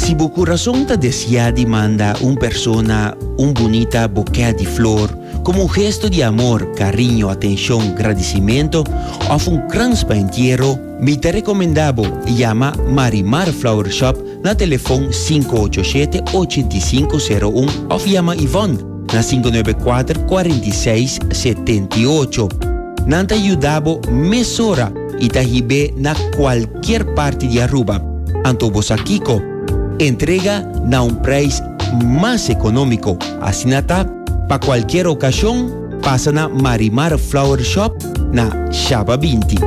Si bo kurason ta deseá di manda un persona un bunita bokè di flor komo un gesto di amor, kariño, atenshon, gradisimentu òf un krans pa entiero, mi ta rekomendá bo yama Marimar Flower Shop na telefon 587 8501 òf yama Yvonne na 594 46 78. Nan ta yuda bo mesora i ta hib'é na kualkier parti di Aruba. Anto bo sa kiko? Entrega na un prijs mas economico. Asina ta, pa cualkier ocasion, pasa na Marimar Flower Shop na Shaba 20.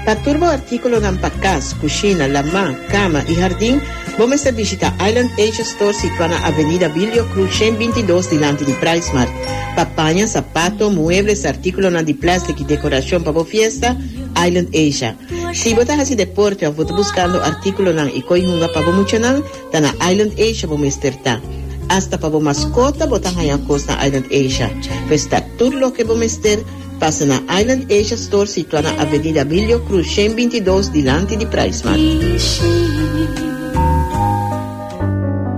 Pa tur bo artíkulonan pa kas, kushina, lamá, kama i hardin, bo mester bishita Island Asia Store situá na Avenida Bilio Cruz 122 dilanti di PriceMart. Pa paña, sapato, muebles, artíkulonan di plèstik i dekorashon pa bo fiesta, Island Asia. Si bo ta hasi deporte òf bo ta buskando artíkulonan i koi hunga pa bo muchanan, ta na Island Asia bo mester ta. Asta pa bo maskota bo ta haña kos na Island Asia. Pues ta tur loke bo mester. Pasa na Island Asia Store situa na Avenida Bilio Cruz 122 dilanti di PriceMart.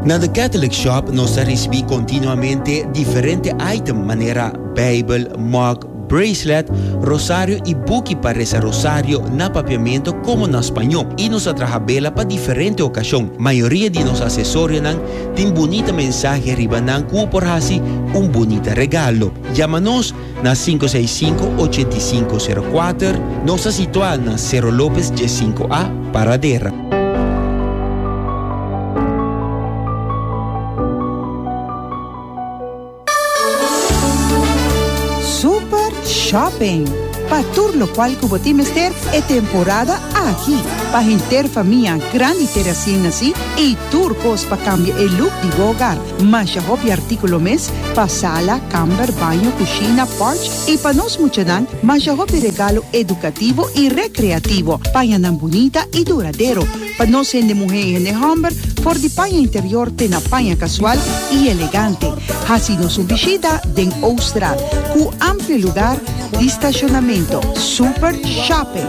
Na The Catholic Shop nos ta ricibi continuamente diferente item manera Bijbel, mug, bracelet, rosario y buki pa reza rosario na papiamento como na spañó. Y nos ta traha bela pa diferente ocasion. Mayoria di nos accesorionan tin bunita mensahe riba nan cu bo por haci un bunita regalo. Yama nos Na 565 8504, nos ta situá na Cerro Lopez 15A, Paradera. Super Shopping! Pa tur locual cu bo tin mester e temporada aki. Pa henter famia, grandi te recién nací y tur cos pa cambia e look di bo hogar. Masha hopi artíkulo mes pa sala, kamber, baño, kushina, porch i pa nos muchanan masha hopi regalo edukativo i rekreativo, pañanan bunita i duradero pa nos hende muhé i hende hòmber, for di paña interior te na paña kasual i elegante. Hasi nos un bishita den Ooststraat ku amplio lugar di stashonamentu. Super Shopping!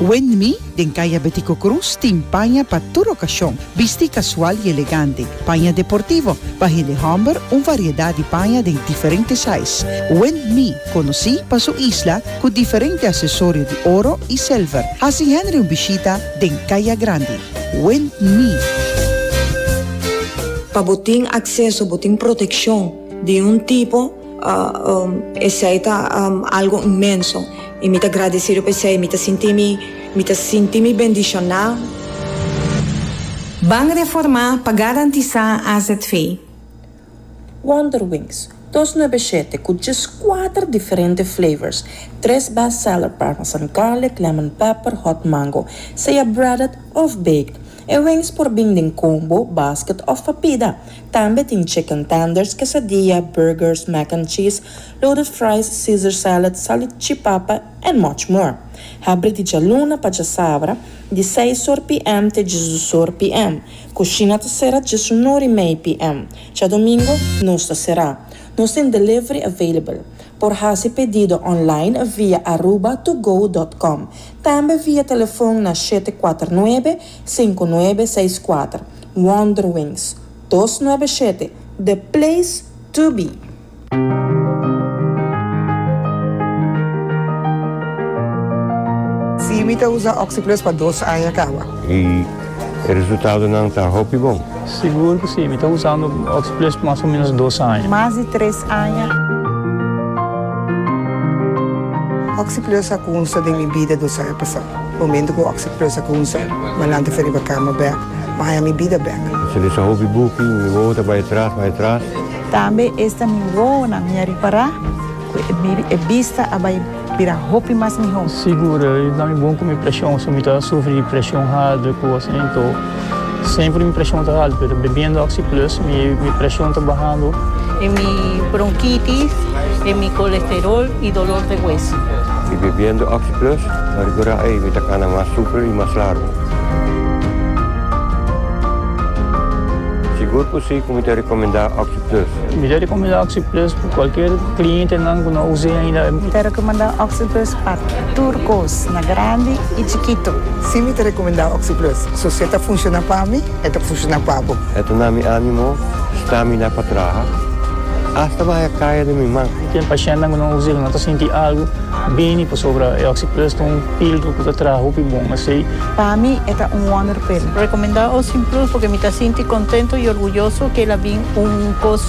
Windme den Kaya Betico Cruz tin paña pa tur okashon, bisti kasual i elegante, paña deportivo, pa hende hòmber un variedat di paña den diferente size. Windme konosí pa su isla ku diferente asesorio di oro i silver. Hasi Henry un bishita den Kaya Grandi. Windme. Pa bo tin akseso, bo tin protekshon di un tipo. Esei ta algo inmenso y mi ta gradecido pa esei. Mi ta sinti mi, mi ta sinti mi bendiciona. Ban reformá pa garantisá azv. Wonder Wings, 297 ku djes kuater diferente flavors, tres best seller parmesan garlic, lemon pepper, hot mango, sea breaded of baked. E wings por bin den combo, basket of pa pida. Tambe tin chicken tenders, quesadilla, burgers, mac and cheese, loaded fries, Caesar salad, salchipapa and much more. Habri di djaluna pa djasabra, di seis or PM te djesdos or PM. Cushina ta sera djesunor y mei PM. Djadomingo nos ta sera. Nos tin delivery available. Por haci pedido online via arubatogo dot com. Tambe via telefon na 749 5964. Wonder Wings, 297, the place to be! Sí, mi ta usa OxiPlus pa dos aña caba. Y e resultadonan ta hopi bon. Sigur cu sí, mi ta usando OxiPlus pa mas o menos dos aña. Mas di tres aña. OxiPlus a cunsa den mi bida dos aña pasa. Momento cu OxiPlus a cunsa, mi a lanta for riba cama bek, mi a haña mi bida bek. Mi lesa hopi buki, mi wowo ta bai atras, bai atras. Tambe esta mi wowonan mi a ripará ku e bista a bai bira hopi mas mihó. Sigur, e ta mi bon ku mi preshon, so mi ta sufri di preshon haltu ku asina anto semper mi preshon ta haltu, pero bebiendo Oxi Plus mi preshon ta bahando. En mi bronquitis, en mi colesterol y dolor de hueso. Y bebiendo Oxi Plus, mi a ricora ey mi ta cana mas super y mas largo. Sigur ku si ku mi ta rekomendá OxyPlus. Mi ta rekomendá OxyPlus pa kualkier klientenan ku no a us'é ainda. Mi ta rekomendá OxyPlus pa tur kos, na grandi i chikitu. Si mi ta rekomendá OxyPlus. So si e ta funshoná pa mi, e ta funshoná pa bo. E ta na mi ánimo, stamina pa traha, asta mi haya kaya den mi man. Tin pashèntnan ku no a us'é, ku no ta sinti algu bini pasobra e OxyPlus ta un pildo ku ta traha hopi bon. Asei. Pa mi e ta un wonderpil. Recomenda Ocean Plus porque mi ta sinti contento y orguyoso que el a bin un cos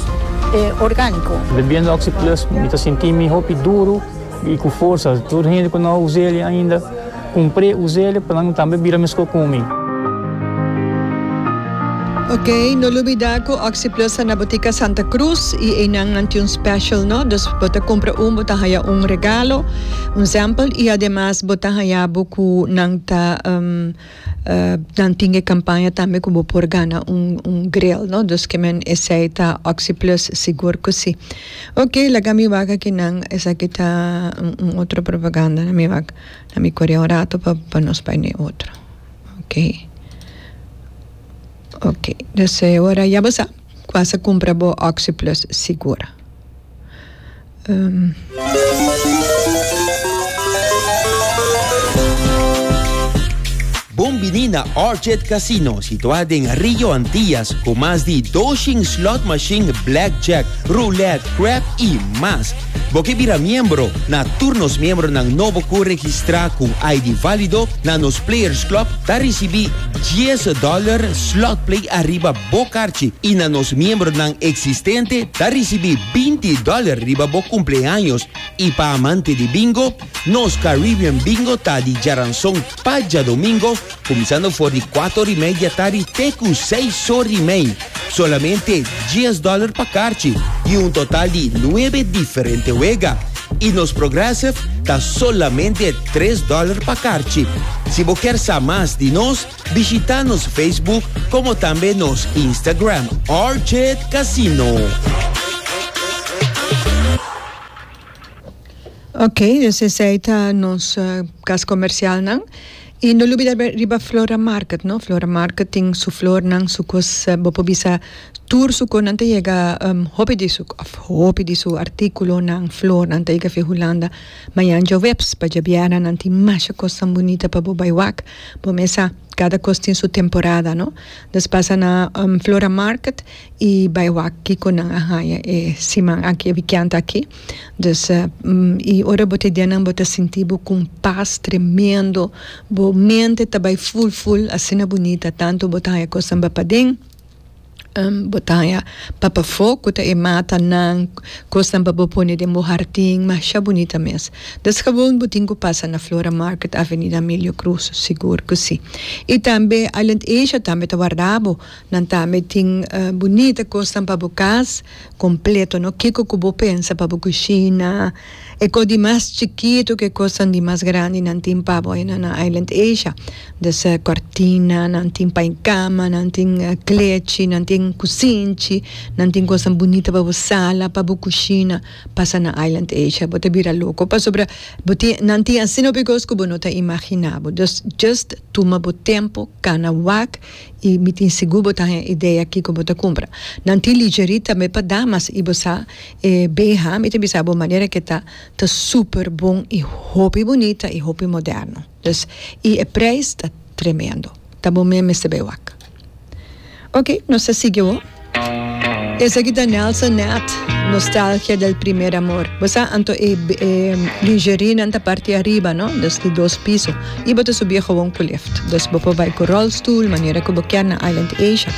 organico. Bebiendo Oxy Plus mi ta sinti mi hopi duro y cu forsa. Tur hende cu no a us'el ainda cumpr'e us'el pa nan tambe bira mesco cu mi. Ok, no lubida cu Oxy Plus ta na botica Santa Cruz y eynan nan tin un special no, dus bo ta cumpra un bo ta haya un regalo, un sample y ademas bo ta haya bo cu nan ta nan tin e campaña tambe cu bo por gana un un grill no, dus ke men esey ta Oxy Plus sigur cu si. Ok, laga mi wak aki nan esaki ta un otro propaganda na mi wak na mi core un rato pa pa nos bay na e otro. Ok. Ok, dus e ora ya bo sa cu a cumpra bo Oxyplus sigur. Um. Bon bini na Orchid Casino, situá den Rio Antillas, ku mas di doshin slot machine, blackjack, roulette, crap i mas. Bo ke bira miembro? Na tur nos miembronan nobo ku registrá ku un ID válido na nos Players Club ta risibí dies dòler slot play ariba bo karchi i na nos miembronan eksistente ta risibí 20 dòler riba bo kumpleaños. I pa amante di bingo, nos Caribbean Bingo ta di djaranson pa djadomingo Kuminsando for di kuater ora i mei di atardi te ku seis ora i mei. Solamente dies dòler pa karchi i un total di nuebe diferente wega. I nos Progressive ta solamente tres dòler pa karchi. Si bo kier sa mas di nos, bishita nos Facebook komo tambe nos Instagram, Orchid Casino. Ok, dus esei ta nos kas komersialnan. I no lubida riba Flora Market, no? Flora Market tin su flornan, su kos, bo por bisa tur su kosnan ta yega hopi di su, òf hopi di su artíkulonan, flornan ta yega fi Hulanda. Mañan djaweps pa djabièrnè nan tin masha kosnan bunita pa bo bai wak. Bo mesa kada kos tin su temporada, no? Dus pasa na Flora Market i bai wak kiko nan a haña e siman aki, e wikènt aki. Dus i ora bo ta den nan bo ta sinti bo ku un pas tremendo, bo mente ta bai ful ful asina bunita tantu bo ta haña kosnan ba paden, bo ta haña pa pafó ku ta e matanan, kosnan pa bo pone den bo hardin masha bunita mes. Dus gewoon bo tin ku pasa na Flora Market Avenida Emilio Cruz sigur ku si. I tambe Island Asia tambe ta warda bo, nan tambe tin bunita kosnan pa bo kas. Completo no kico cu bo pensa pa bo cushina e cos di mas chikito cu e cosnan di mas grandi nan tin pa bo ayina na Island Asia des cortina nan tin pa e cama nan tin klechi nan tin cusinchi nan tin cosnan bunita pa bo sala pa bo cushina pasa na Island Asia bo ta bira loco pasobra bo tin nan tin asina hopi cos cu bo no ta imagina bo dus just tuma bo tempo cana wak I mi tin sigur bo ta haña idea kiko bo ta kumpra. Nan tin lingerie tambe pa damas i bo sa e BH mi ta bisa bo manera ke ta ta super bon i hopi bunita i hopi moderno. Dus i e prijs ta tremendo. Ta bo mes mester bai wak. Ok nos ta sigui awor. Esaki ta Nelson Ned, Nostalgia del primer amor. Bo sa anto e e lingerie nan ta parti ariba no, dus di dos piso. Y bo ta subi gewoon cu lift. Dus bo por bay cu rolstoel, manera cu bo kier na Island Asia.